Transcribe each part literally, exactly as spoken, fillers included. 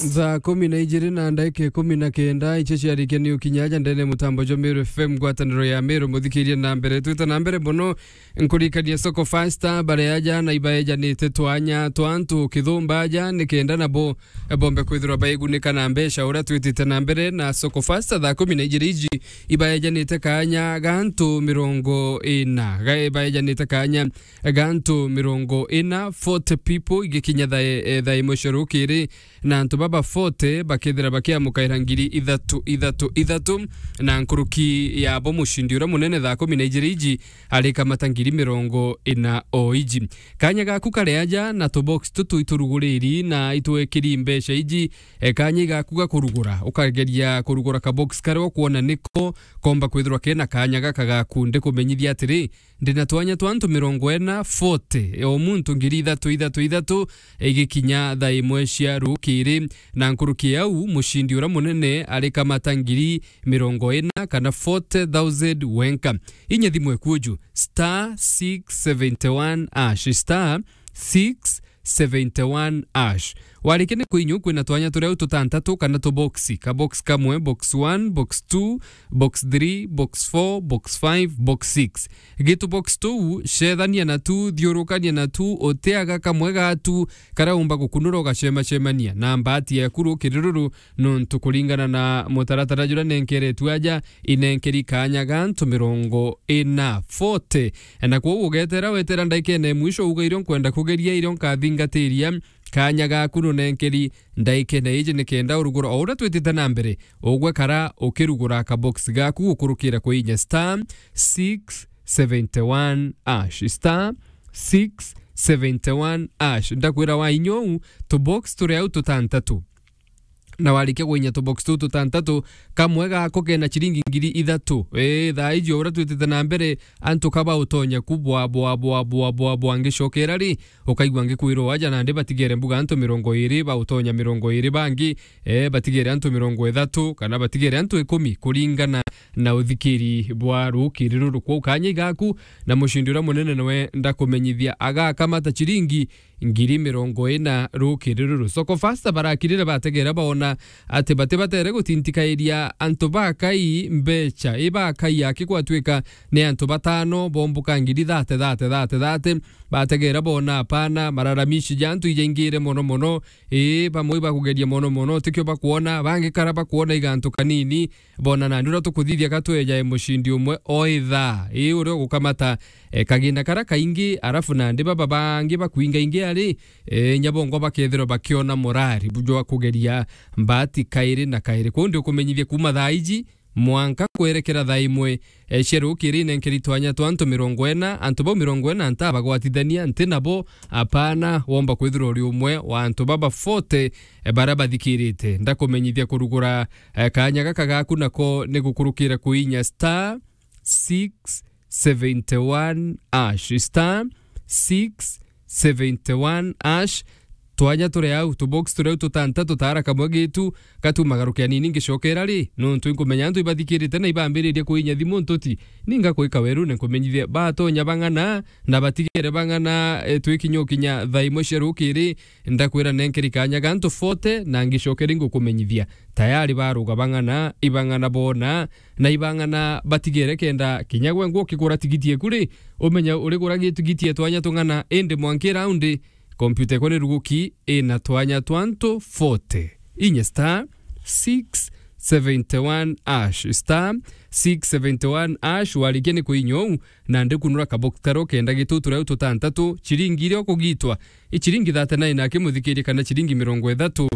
Thaa kumi na ijiri na ndagika ikumi na kenda, icio ciarikia ni ukinya aja ndene mutambo jwa Meru F M, ngwataniro ya Meru. Muthikirie na mbere, twite na mbere mono. Nkurikania Soko Fasta, baria aja na ibaejanite twanya twa antu kithumba aja, ni kenda nabo bombe kwithirwa baigunika na mbeca uria twitite na mbere na Soko Fasta. Thaa kumi na ijiri iji ibaejanite kanya ga antu mirongo ina, ga ibaejanite kanya ga antu mirongo ina, forty people, igikinya thaa, eh, thaa imwe cia rukiri, na antu baba forty bakethira bakiamukaira ngiri ithatu, ithatu, ithatu, na nkuruki yabo mucindi uria munene thaa kumi na ijiri iji arikamata ngiri mirongo ina o iji. Kanya gaku kari aja na tubox tutu ituruguriri na itwekiri mbeca iji, e, kanya igaku ga kurugura, ukageria kurugura kabox karia ukwona niko komba kwithirwa kena kanya gaka gaku. Ndikumenyithia atiri, ndina twanya twa antu mirongo ina, forty, o muntu ngiri ithatu, ithatu, ithatu, igikinya thaa imwe cia rukiri, na nkuruki yau, mucindi uria munene arikamata ngiri mirongo ina kana forty thousand wenka. Inya thimu ekuju, star six seventy one hash, star six seventy one hash. Warikia ni kuinyua, kwina twanya turia tutantatu kana tuboxi, ka box kamwe, box one, box two, box three, box four, box five, box six. Gitu box tuu, cethania na tu, thiurukania na tu, utiaga kamwe gatu karia umba gukunura ugacemacemania na mbati yaku rukiri ruru, nontu kuringana na mutaratara juria nenkeretue aja, inenkeri kanya ga antu mirongo ina, forty. Na kwou ugetera wetera ndaikene mwisho, uga irio nkwenda kugeria, irio nkathingatiria, kanya gaku nunenkeri ndaikene iji, ni kenda urugura o uria twitite na mbere, ugwe kara ukirugura kabox gaku gukurukira kuinya star six seventy one hash, star six seventy one hash. Ndakwira wainya uu, tubox turi au tutantatu. Na warikia kuinya tubox tuu tutantatu, kamwe gako kena ciringi ngiri ithatu. Ii, thaa iji o uria twitite na mbere, antu ka bautonya ku bwa, bwa, bwa, bwa, bwa, bwa. Ngicokera ri, ukaigua ngikwirwo aja nandi batigere mbuga antu mirongo iri, bautonya mirongo iri bangi, ee, batigere antu mirongo ithatu, kana batigere antu ikumi, kuringana na uthikiri bwa rukiri ruru. Kwou kanya igaku, na mucindi uria munene niwe ndakumenyithia agakamata ciringi ngiri mirongo ina rukiri ruru. Soko Fasta barakirire bategera baona ati bati batere gutintikairia antu bakai mbeca, i bakai aki gwatwika ni antu batano bombuka ngiri thate, thate, thate, thate. Bategera bona apana, mararamishi ja antu ijaingire mono mono. Ii, bamwe ibakugeria mono mono, tikio bakwona, bangi kara bakwona igantu kanini. Bona nandi uria tukuthithia ka twejae mucindi umwe o ithaa, ii, uria ugukamata, e, kaginda karia kaingi, arafu nandi baba bangi bakwingaingi ari, e, nyabongwa bakethirwa bakiona morari bu-, jwa kugeria mbati kairi na kairi. Kwou ndi ukumenyithia kuuma thaa iji mwanka kwerekera thaa imwe, e, cia rukiri, nenkeri twanya twa antu mirongo ina. Antu bau mirongo ina ntabagwatithania, nti nabo, apana, womba kwithirwa uri umwe wa antu baba forty, e, baria bathikirite. Ndakumenyithia kurugura, e, kanya gaka gaku nako ni gukurukira kuinya star six seventy one hash, star six seventy one hash. Twanya turi au, tubox turi au tutantatu, tara kamwe gitu, gatuma garukia nini ngicokera ri, nontu inkumenya antu ibathikirite na ibambiririe kuinya thimu ntuti. Ninga kuika werune nkumenyithie batonya bang'ana, na batigere bang'ana, e, twikinya ukinya thaa imwe cia rukiri, ndakwira nenkeri kanya gantu forty, na ngicokeri ngukumenyithia. Tayari baruga bang'ana, ibang'ana bona, na ibang'ana batigere kenda kinya gwe ngwe ukigura tigiti eku ri, umenya urigura gitigiti e twanya tung'ana, indi mwanki raundi, kompyuta ekwa ni ruguki, ina twanya twa antu forty. Inye star six seventy one hash, star six seventy one hash, warikia ni kuinya uu, na ndikunura kabox karia ukenda gitutu riu tutantatu, ciringi iria ukugitwa, i ciringi thirty-nine akimuthikiria kana ciringi mirongo ithatu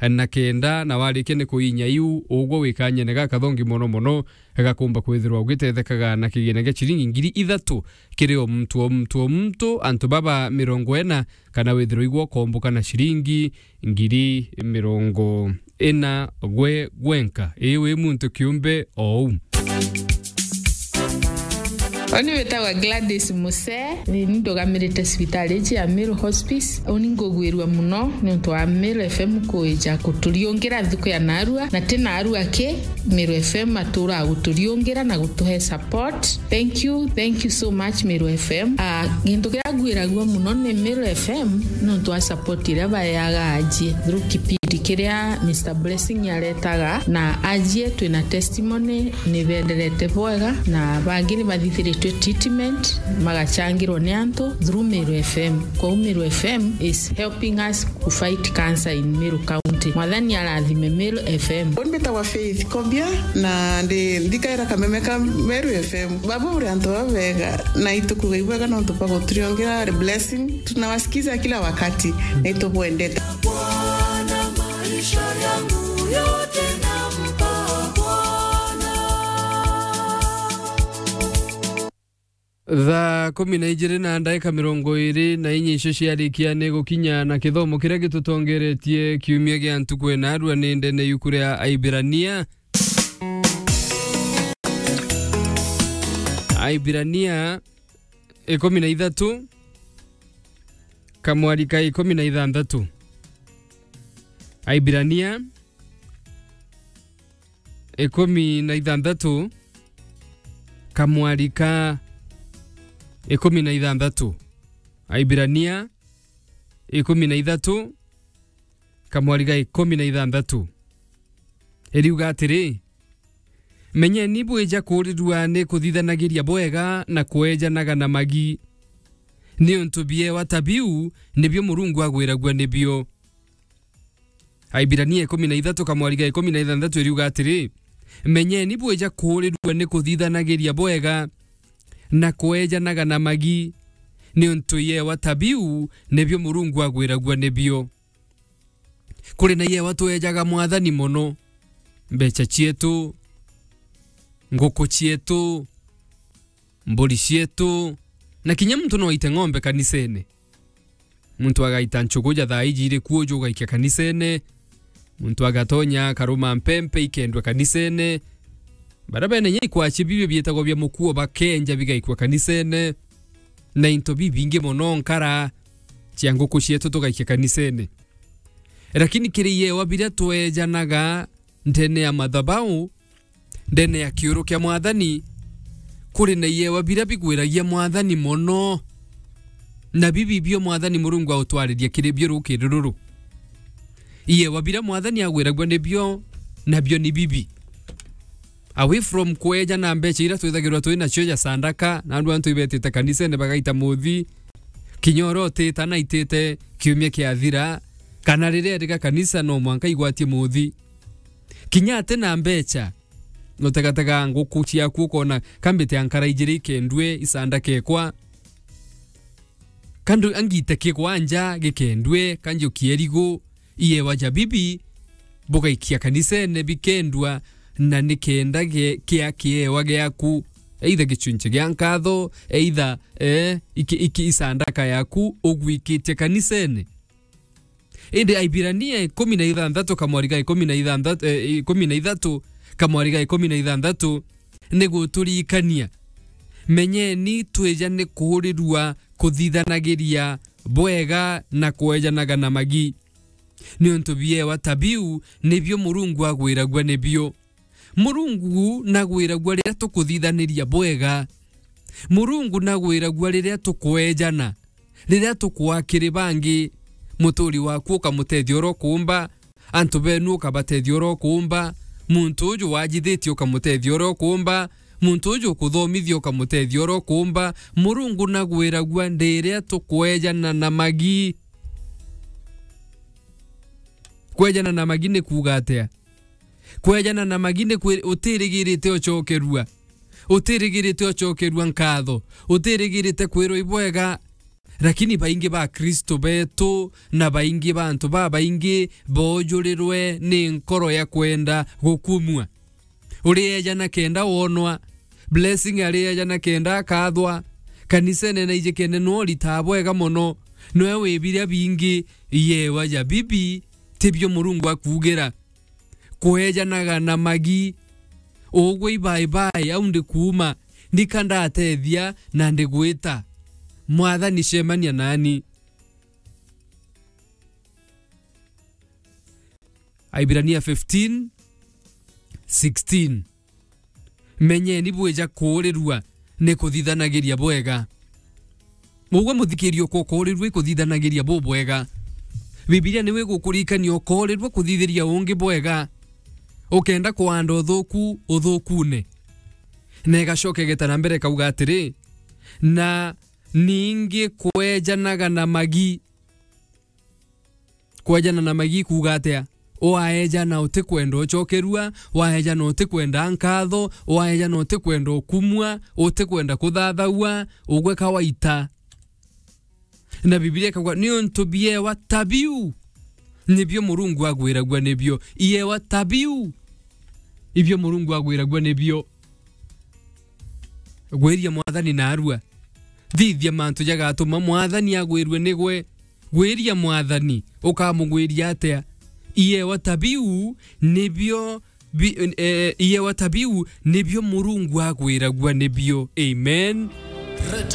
na kenda, na warikia ni kuinya iu, ugwe wikanyene gakathongi mono mono, gakumba kwithirwa ugitethekaga na kigina gia ciringi ngiri ithatu kiri o muntu, o muntu, o muntu, antu baba mirongo ina, kana withirwa igwe ukomboka na ciringi ngiri mirongo ina gwe gwenka. Ii wi muntu kiumbe o uu. Oni witagwa Gladys Muse, ni ndugamirite cibitari ici ya Meru Hospice. Uni ngugwirua muno ni untu wa Meru F M kuija kuturiungira nthuku ya narua, na ti narua ki, Meru F M atura guturiungira na gutuhe support. Thank you, thank you so much, Meru F M. Ah, gintu kiria ngwiragua muno ni Meru F M nontu wa support iria baeaga aji through kipindi Kiria Mister Blessing aretaga, na ajie twina testimony, ni benderete bwega, na bangi ni bathithiritwe treatment, magachangirwo ni antu through Meru F M. Kwou Meru F M is helping us to fight cancer in Meru County. Mwathani arathime Meru F M. Mbitagwa Faith Kobia, na ndi nthikaira kameme ka Meru F M. Baba uri antu babega, na itukuga ibwega nontu bwa guturiongera blessing. Tunawasikiza kila wakati, na itubwendete. Bwana, maisha yangu yote nampa Bwana. Thaa kumi na ijiri na ndaika mirongo iri na inya icio ciarikia ni gukinya na kithomo kiria gitutongeretie kiumia gia ntuku ina arua ni ndene yuku ria Aibirania. Aibirania ikumi na ithatu, kamwari ka ikumi na ithanthatu. Aibirania ikumi na ithanthatu, kamwari ka ikumi na ithanthatu. Aibirania ikumi na ithatu, kamwari ga ikumi na ithanthatu. Iriuga atiri, menyeni bwija kuurirua ni kuthithanagiria bwega na kweejanaga na magi, niuntu biewa ta biu nibio Murungu agwiragua nibio. Aibirania ikumi na ithatu kamwari ga ikumi na ithanthatu iriuga atiri, menyeni bwija kuurirua ni kuthithanagiria bwega na kweejanaga na magi, niuntu iewa ta biu nibio Murungu agwiragua nibio. Kuri na iewa tweejaga Mwathani mono, mbeca cietu, nguku cietu, mburi cietu, na kinya muntu no aite ng'ombe kanisene. Muntu agaita nchugu ja thaa iji iri kuo, uju ugaikia kanisene. Muntu agatonya akaruma mpempe ikendwa kanisene. Baria bene inya ikwaci biu bietagwa bia mukuo bakenja bigaikua kanisene. Na into bibingi mono, nkara cia nguku cietu tugaikia kanisene. Lakini kiri iewa biria tweejanaga ndene ya mathabau, ndene ya kiuru kia Mwathani, kuri na iewa biria bigwiragia Mwathani mono, na bibi bio Mwathani Murungu autwariria kiri bio rukiri ruru. Iewa biria Mwathani agwiragua nibio, nabio ni bibi. Away from kweejana mbeca iria twithagirwa twi nacio ja sandaka, na andu antu ibetite kanisene bagaita muthi, kinya uria utita na itite kiumia kiathira, kana riria eriga kanisa no mwanka igwatie muthi. Kinya ati na mbeca, nutegatega nguku ciaku ukona, kambite ankara ijiri ikendue isanda kekwa. Kandu angite kigwanja gikendue, kanjukie rigu, iewa ja bibi, bugaikia kanisene bikendua, na nikenda ge-, kia kiewa giaku, either gichunchi gia nkatho, either, eh, iki, iki isandaka yaku ugwikitie kanisene. Indi Aibirania ikumi na ithanthatu kamwari ga ikumi na ithanthatu, eh, ikumi na ithatu kamwari ga ikumi na ithanthatu ni guturirikania, menyeni twija ni kuurirua kuthithanagiria bwega na kweejanaga na magi, niuntu biewa ta biu nibio Murungu agwiragua nibio. Murungu nagwiragua riria tukuthithaniria bwega. Murungu nagwiragua riria tukweejana, riria tukwaa kiri bangi. Muturi waku ukamutethia uria ukuumba, antu benu ukabatethia uria ukuumba, muntu uju wajithitie ukamutethia uria ukuumba, muntu uju ukuthomithia ukamutethia uria ukuumba. Murungu nagwiragua riria tukweejana na magi. Kweejana na magi ni kuuga atia? Kweejana na magi ni kwi-, utirigirite ucokerua. Utirigirite ucokerua nkatho. Utirigirite kwirwa ibwega. Lakini baingi ba Kristo betu na baingi ba antu babaingi boojurirwe ni nkoro ya kwenda gukumua. Urieejana kenda wonwa. Blessing arieejana kenda akathwa. Kanisene na ijikene no ritaa bwega mono. Noe wi biria bingi, iewa ja bibi, tibio Murungu akuugira. Kweejanaga na magi. Ugwe ibae bae, au ndikuuma, ndika ndatethia na ndigwita. Mwathani, cemania nani. Aibirania fifteen sixteen. Menyeni bwija kuurirua ni kuthithanagiria bwega. Ugwe muthikiria ukwa ukuurirua i kuthithanagiria bubwega. Bibilia niwe igukurikania ukoorirua kuthithiria ungi bwega, ukenda kuanda uthuku uthukune. Na igacoka igeta na mbere ikauga atiri, na ningi kwejanaga na magi. Kwejana na magi kuuga atia? Waejana utikwenda ucokerua, waejana utikwenda nkatho, waejana utikwenda ukumua, utikwenda kuthathaua, ugwe kawaita. Na Bibilia ikauga, niuntu biewa ta biu nibio Murungu agwiragua nibio. Iewa ta biu ibio Murungu agwiragua nibio. Gwiria Mwathani narua. Thithia mantu jagatuma Mwathani agwirue nigwe. Gwiria Mwathani, ukamugwiria atia? Iewa ta biu nibio bi, eh, iewa ta biu nibio Murungu agwiragua nibio. Amen. Rete